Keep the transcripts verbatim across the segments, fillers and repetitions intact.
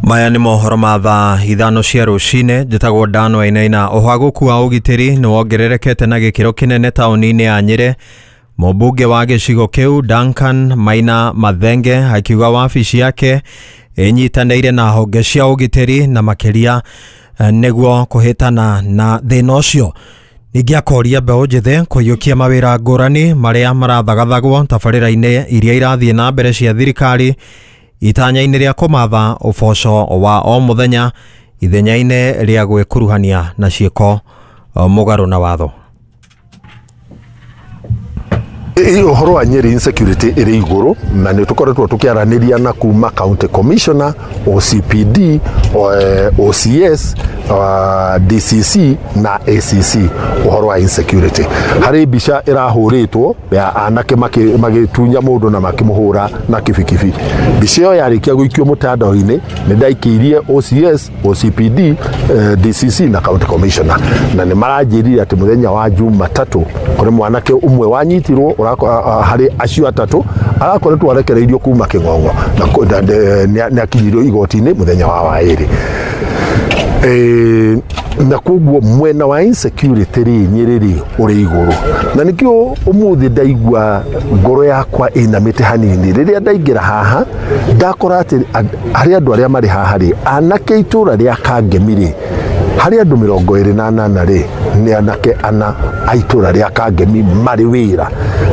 Maya nĩ mohoro ma thaa ithano cia rũcinĩ. Njĩtagwo Dan Wainaina. Ũhagũku wa ũgitĩri nĩ wongererekete na gĩkĩro kĩnene taũni-inĩ ya Nyĩrĩ. Mũmbunge wa gĩcigo kĩu Duncan Maina Mathenge akiuga wabici yake ĩnyitanĩire na honge cia ũgitĩri na makĩria nĩguo kũhĩtana na thĩna ũcio. Ningĩ akoria mbeũ njĩthĩ kũiyũkia mawĩra ngũrani marĩa marathagathagwo tabarĩra-inĩ iria irathiĩ na mbere cia thirikari itanya-inĩ rĩa kũmatha ũboco wa o mũthenya ithenya-inĩ rĩa gwĩkuruhania na ciĩko mũgarũ na watho. Ũhoro wa Nyeri insecurity ĩrĩ igũrũ na nĩ tũkoretwo tũkĩaranĩria na kuma county commissioner, O C P D, O C S, D C C na A C C ũhoro wa insecurity. Harĩ mbica ĩrahũrĩtwo ya anake magĩtunya mũndũ na makĩmũhũra na kibikibi. Mbica ĩyo yarĩkia gũikio mũtandao-inĩ nĩ ndaikĩirie O C S, O C P D, D C C na county commissioner na nĩ maranjĩrire atĩ mũthenya wa Jumatatũ kũrĩ mwanake ũmwe wanyitirwo harĩ acio atatũ arakoretwo arekereirio kuma Kĩng'ong'o na nĩ akinyirio igoti-inĩ mũthenya wa waĩrĩ. Na koguo mwena wa insecurity rĩ Nyĩrĩ rĩ ũrĩ igũrũ na nĩkĩo ũmũthĩ ndaigua ngoro yakwa ĩinamĩte hanini rĩrĩa ndaingĩra haha ndakora atĩ harĩ andũ arĩa marĩ haha rĩ anake itũra rĩa Kangemi rĩ harĩ andũ mĩrongo ĩrĩ na anana rĩ nĩ anake ana a itũra rĩa Kangemi marĩ wĩra.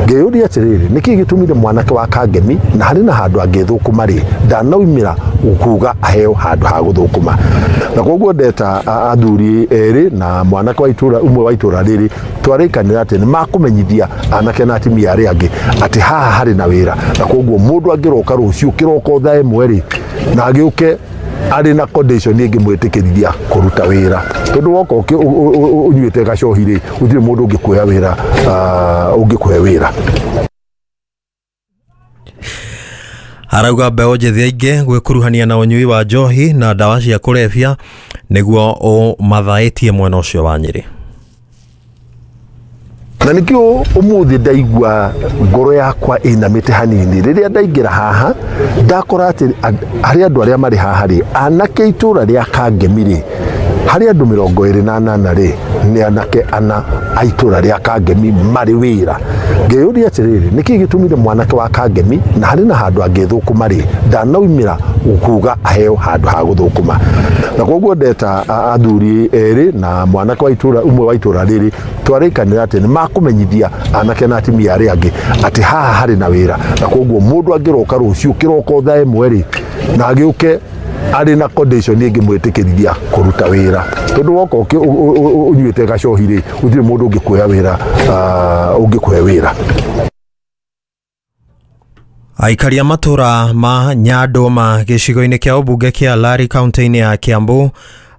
Ngĩyũria atĩrĩrĩ, nĩkĩĩ gĩtũmire mwanake wa Kangemi na harĩ na handũ angĩthũkũma rĩ ndanaumĩra kuga aheo handũ ha gũthũkũma. Na koguo ndeta athuri erĩ na mwanake wa itũra ũmwe wa itũra rĩrĩ twarĩkanĩra atĩ nĩ makũmenyithia anake na atumia arĩa angĩ atĩ haha harĩ na wĩra na koguo mũndũ angĩroka rũciũ kĩroko thaa ĩmwe rĩ na agĩũke arĩ na condition ĩngĩmwĩtĩkĩrithia kũruta wĩra tondũ woka ũnyuĩte gacohi rĩ gũtirĩ mũndũ ũngĩkuoya wĩra ũngĩkũhe wĩra. Arauga mbeũ njĩthĩ aingĩ gwĩkuruhania na ũnyui wa njohi na ndawa cia kũrebia nĩguo ũmathaĩtie mwena ũcio wa Nyĩrĩ. Na nĩkĩo ũmũthĩ ndaigua ngoro yakwa ĩinamĩte hanini rĩrĩa ndaingĩra haha ndakora atĩ harĩ andũ arĩa marĩ haha rĩ anake itũra rĩa Kangemi rĩ harĩ andũ mĩrongo ĩrĩ na anana rĩ nĩ anake ana a itũra rĩa Kangemi marĩ wĩra. Ngĩyũria atĩrĩrĩ, nĩkĩĩ gĩtũmire mwanake wa Kangemi na harĩ na handũ angĩthũkũma rĩ ndanaumĩra kuga aheo handũ ha gũthũkũma. Na koguo ndeta athuri erĩ na mwanake wa itũra ũmwe wa itũra rĩrĩ twarĩkanĩra atĩ nĩ makũmenyithia anake na atumia arĩa angĩ atĩ haha harĩ na wĩra na koguo mũndũ angĩroka rũciũ kĩroko thaa ĩmwe rĩ na agĩũke arĩ na condition ĩngĩmwĩtĩkĩrithia kũruta wĩra tondũ woka ũnyuĩte gacohi rĩ gũtirĩ mũndũ ũngĩkuoya wĩra ũngĩkũhe wĩra. Aikari a matũra ma Nyandũma gĩcigo-inĩ kĩa ũmbunge kĩa Lari kaunti-inĩ ya Kiambu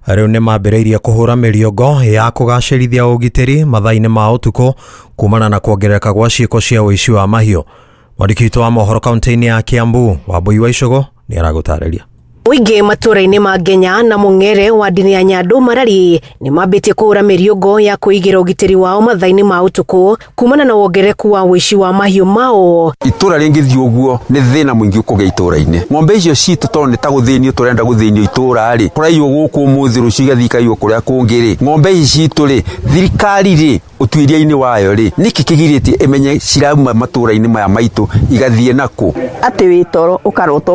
rĩu nĩ mambĩrĩirie kũhũra mĩriongo ya kũgacĩrithia ũgitĩri mathaa-inĩ ma ũtukũ kumana na kuongerereka gwa ciĩko cia ũici wa mahiũ. Mwandĩki witũ wa mohoro kaunti-inĩ ya Kiambu Wambui wa Icũgũ nĩ aragũtarĩria. Mũingĩ matũra-inĩ ma Ngenya na Mũng'ere wa ndini ya Nyandũ Marari nĩ mambĩtie kũhũra mĩriũngo ya kũigĩra ũgitĩri wao mathaa-inĩ ma ũtukũ kumana na wongerereku wa ũici wa mahiũ mao. Itũra rĩngĩthiĩ ũguo nĩ thĩna mũingĩ ũkũgĩa itũra-inĩ. Ng'ombe icio citũ tondũ nĩ ta gũthĩnio tũrenda gũthĩnio itũra rĩ, kũraiywo gũkũ ũmũthĩ rũciũ igathiĩ ikaiywo kũrĩa kũngĩ rĩ, ng'ombe ici citũ rĩ, thirikari rĩ ũtuĩria-inĩ wayo rĩ, nĩkĩ kĩgirĩtie ĩmenye cirauma matũra-inĩ maya maitũ igathiĩ nakũ? Atĩ wĩ toro ũkarota